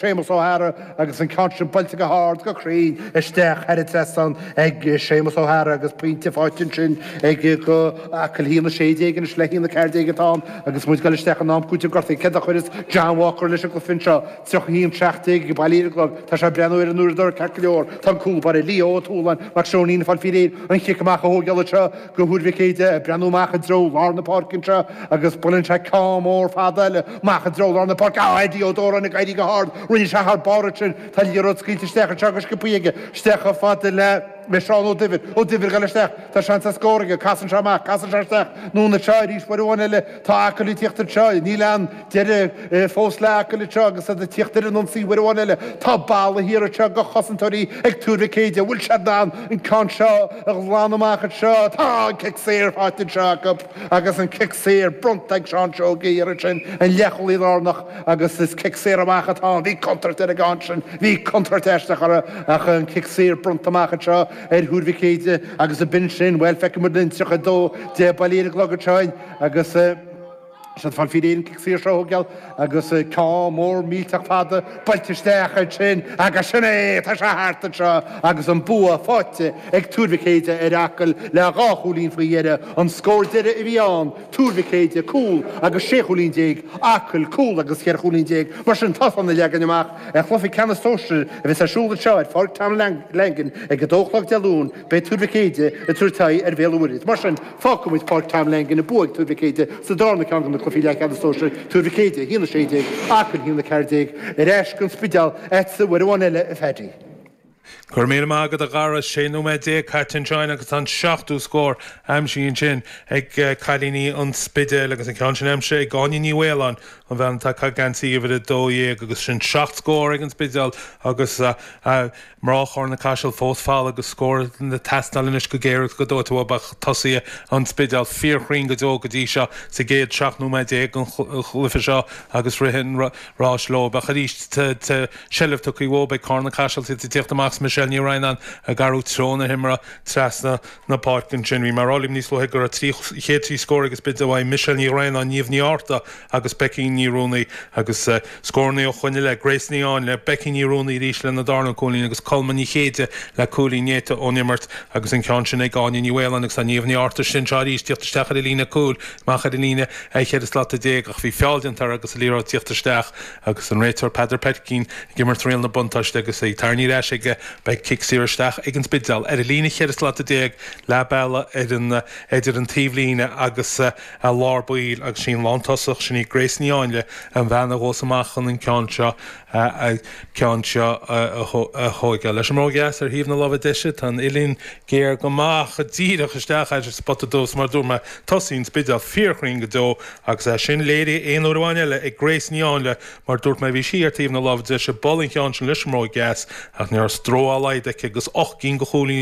Séamus O'Hara agus an ceann sin buailte go hard, go cruinn, isteach thar an trasnán ag Séamus O'Hara agus pointe faighte ansin ag go Acaill 1-16 anois le 1-14 atá ann agus muid ag dul isteach in am cúitimh gortaithe. Céard a chuireas John Walker leis an gcluiche anseo? 31-17 ag Baile Lir an gclog. Tá sé ag breathnú ar an uaireadóir ceart go leor. Tá an cúl báire Leo Ó Tualáin Mac Seoinín ag fáil faoi réir an chic amach a thógáil anseo go Thuar Mhic Éide ag breathnú amach i dtreo lár na páirce anseo agus buaileann sé ceann mór fada eile amach i dtreo lár na páirce. Á, Eddie Ó Dóráin ag éirí go hard. Rinne sé thar barr ansin. Tá an liathróid scaoilte isteach anseo go sciobthaí aige. Isteach chomh fada le le Seán Ó Duibhir. Ó Duibhir ag dul isteach. Tá seans ar scór aige. Casann sé amach. Casann sé isteach. Anonn anseo arís uair amháin eile. Tá Acaill ag tíocht anseo. Níl aon deireadh fós le Acaill anseo agus iad ag tíocht ar an ionsaí uair amháin eile. Tá balla thiar anseo de chosantóirí ag Tuar Mhic Éide. Bhfuil siad in ann an ceann seo a ghlanadh amach anseo? Tá an cic saor faighte anseo acu agus an cic saor bronnta ag Seán Seoige thiar ansin, an leathchúlaí lárnach agus is cic saor amach atá ann. Bhí contúirt ar an gceann sin, bhí contúirt aisteach orthu ach an cic saor bronnta amach anseo ar Thuar Mhic Éide agus b'in sin, bhuel, feicfidh muid linn 32 10 Baile Lir an gclog anseo agus. Siad fáil faoi réir an cic saor seo a thógáil agus ceann mór millteach fada buailte isteach ansin agus sin é! Tá sé thart anseo agus an bua faighte ag Tuar Mhic Éide ar Acaill le dhá chúilín faoi dheireadh. An scór deiridh a bhí ann, Tuar Mhic Éide cúl agus 16 chúilín, Acaill cúl agus 14 chúilín. Mar sin, tá san a leagan amach ar chluiche ceannais sóisir a bheas ar siúl anseo ar Pháirc Tom Langan ag a dó a chlog Dé Luain. Beidh Tuar Mhic Éide ag tabhairt aghaidh ar Bhéal an Mhuirthead. Mar sin, fágfaidh muid Páirc Tom Langan, an bua ag Tuar Mhic Éide sa darna ceann de na cluichí leathcheannais sóisir, Tuar Mhic Éide, 1-16, Acaill 1-14, ar ais go An Spidéal agatsa uair amháin eile, a Phaddy. Go raibh míle maith agat a Dhara. 16 nóiméad caite anseo agus tá an seachtú scór aimsithe ansin ag cailíní an Spidéil agus an ceann sin aimsithe ag Áine Ní Mhaoláin, an bhean atá ag caitheamh geansaí uimhir 12 agus sin seacht scór ag an Spidéal agus Mná Charna Caiseal fós folamh agus scór ag teastáil anois go géar agus go dóite uathu ach tosaithe an Spidéil fíorchruinn go deo go dtí seo sa gcéad 17 nóiméad den chluiche seo agus rith an ráis leo. Ach arís seilbh tugtha uathu ag Carna Caiseal iad ag tíocht amach is Michelle Ní Dhroighneáin ag athrú treo na himeartha trasna na páirce ansin. Bhí mé ag rá libh níos luaithe go raibh trí chéad trí scór ag an Spidéal uaidh Michelle Ní Dhroighneáin, Niamh Ní Fhátharta agus Becky Ní Ruanaí agus scóranna ó choinne le Grace Ní Áinle, Becky Ní Ruanaí arís lena darna cúilín agus Colma Ní Chéide le cúilín néata ón imirt agus an ceann sin ag Áine Ní Mhaoláin agus tá Niamh Ní Fhátharta istigh anseo arís tíocht isteach ar an líne cúil amach ar an líne 14 slata ach bhí feall déanta uirthi agus an liathróid tíocht isteach agus an réiteoir Peadar Peircín ag imirt riail na buntáiste agus í tarraingthe ar ais aige beidh cic saor isteach ag an Spidéal ar an líne 14 slata leath bealaigh ar an idir an taobhlíne agus a lár baill agus sí an lántosach, sin í Grace Ní Áinle, an bhean a ghabhfas amach chun an ceann seo ceann seo a thóigeáil. Leis an mbróg dheas ar thaobh na láimhe deise, tá an uillinn géar go maith díreach isteach ar an spota dubh, mar a dúirt mé, tosaithe an Spidéil fíorchruinn go deo agus é sin léirithe aon uair amháin eile ag Grace Ní Áinle, mar a dúirt mé, bhí sí ar taobh na láimhe deise, bualadh an ceann sin leis an mbróg dheas ach ní raibh stró dá laghad aici agus 8 gcinn de chúilíní.